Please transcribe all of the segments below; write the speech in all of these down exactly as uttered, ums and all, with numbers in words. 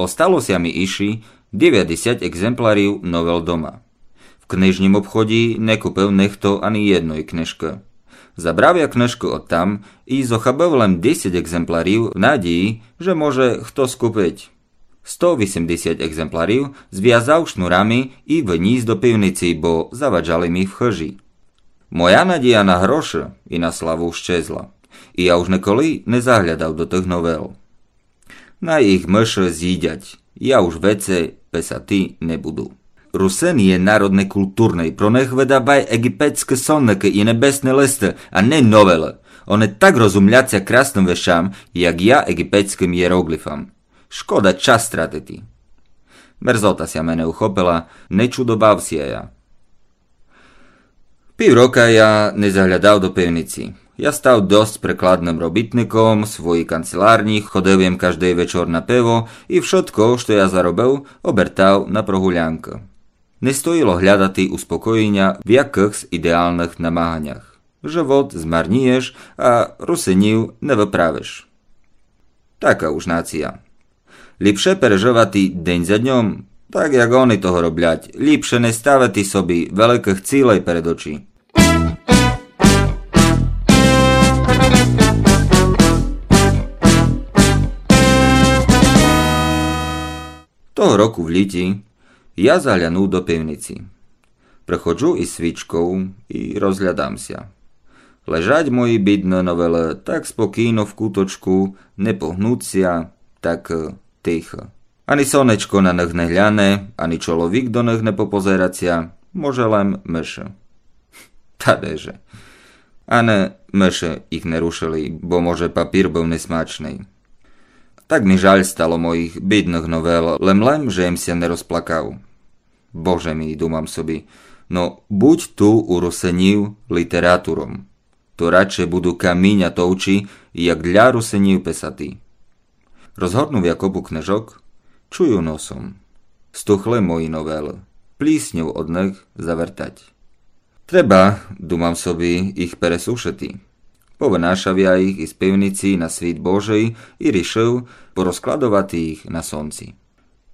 Остало ся ми ище девятдесят екземплярів новел дома. В книжнім обходї не купив нихто ани єдной книжкы. Забрав я книжкы одтам и зохабив лем десять екземплярів в надїї, же може хто скупить. Сто вісемдесят екземплярів звязав шнурами и вынїс до пивниці, бо заваджали ми в хыжи. Моя надїя на гроши и на славу щезла. И я уж николи не заглядав до тых новел. Най їх мыши зїдять, я уж веце писати не буду. Русин є народ некултурный, про них выдавай єгипетскы сонникы и небесны листы, а не новелы. Они так розумлять ся красным вещам, як я єгипетскым єроглифам. Шкода час тратити. Мерзота ся мене ухопила, не чудовав ся я. Пів рока я не заглядав до пивниці. Я став досц прикладным робітником в своїй канцелярнї, ходив єм каждый вечор на пиво и вшытко, што я заробив, обертав на прогулянкы. Не стоїло глядати успокоєня в якыхсь идеалных намаганях. Живот змарнїєш, а русинів не выправиш. Така уж нація. Ліпше пережывати день за дньом, так як они того роблять, ліпше не ставити собі великых цілей перед очі. Того року в лїті я заглянув до пивниці. Приходжу из свічков и розглядам ся. Лежать мої бідны новелы так спокійно в куточку, не погнуть ся, так, е, тихо. Ани сонечко на них не гляне, ани чоловік до них не попозерать ся, може лем мыши. Та де же. Ани мыши їх не рушили, бо може папір быв несмачный. Так ми жаль стало моїх бідных новел, лем лем, же єм ся не розплакав. Боже мій, думам собі, но будь ту у русинів літератором, то радше буду каміня товчи, як для русинів писати. Розгорнув я копу книжок, чую носом. Стухли мої новелы. Плісньов од них завертать. Треба, думам собі, їх пересушити. Повынашав я їх из пивниці на світ Божий и рішив порозкладовати їх на сонці.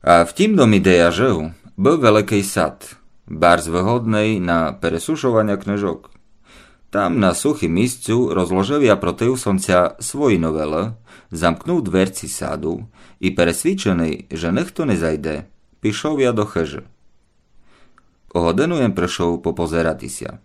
А в тім домі, де я жив, быв великый сад, барз выгодный на пересушованя книжок. Там на сухім місцю розложив я против сонця свої новелы, замкнув дверці саду и, пересвідченый, же нихто не зайде, пішов я до хыжы. О годину єм пришов попозерати ся.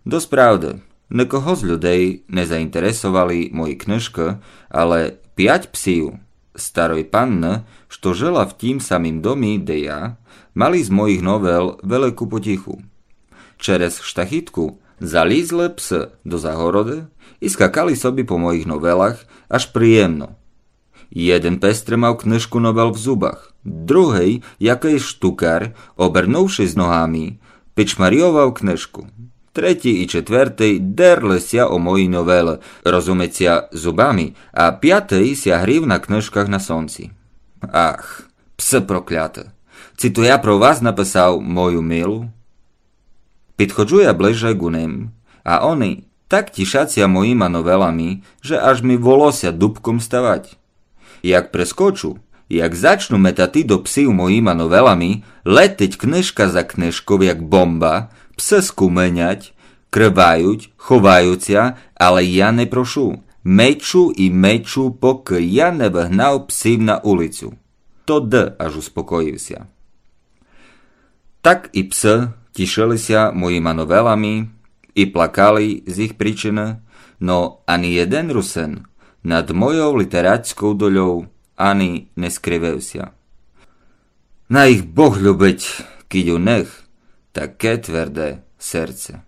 Досправды, никого з людей не заінтересовали мої книжкы, але пять псів старой панны, што жила в тім самім домі, де я, мали з моїх новел велику потіху. Через штахітку залїзли псы до загороды и скакали собі по моїх новелах аж приємно. Єден пес тримав книжку новел в зубах, другый, якыйсь штукар, обернувшись ногами, пичмарйовав книжку. Третій и четвертый дерли ся о мої новелы, розумить ся, зубами, а пятый ся грів на книжках на сонці. Ах, псы прокляты! Ци то я про вас написав мою милу? Підходжу я ближе ку ним, а они так тішать ся моїма новелами, же аж ми волося дубком ставать. Як прескочу, як зачну метати до псів моїма новелами, летить книжка за книжков, як бомба, псы скуменять, кривають, ховають ся, але я не прошу. Мечу и мечу, покы я не выгнав псів на улицю. Тогды аж успокоїв ся. Так и псы тішили ся моїма новелами и плакали з їх причины, но ани єден русин над мойов літерацьков дольов ани не скривив ся. Най їх Бог любить, кидь у них таке тверде серце.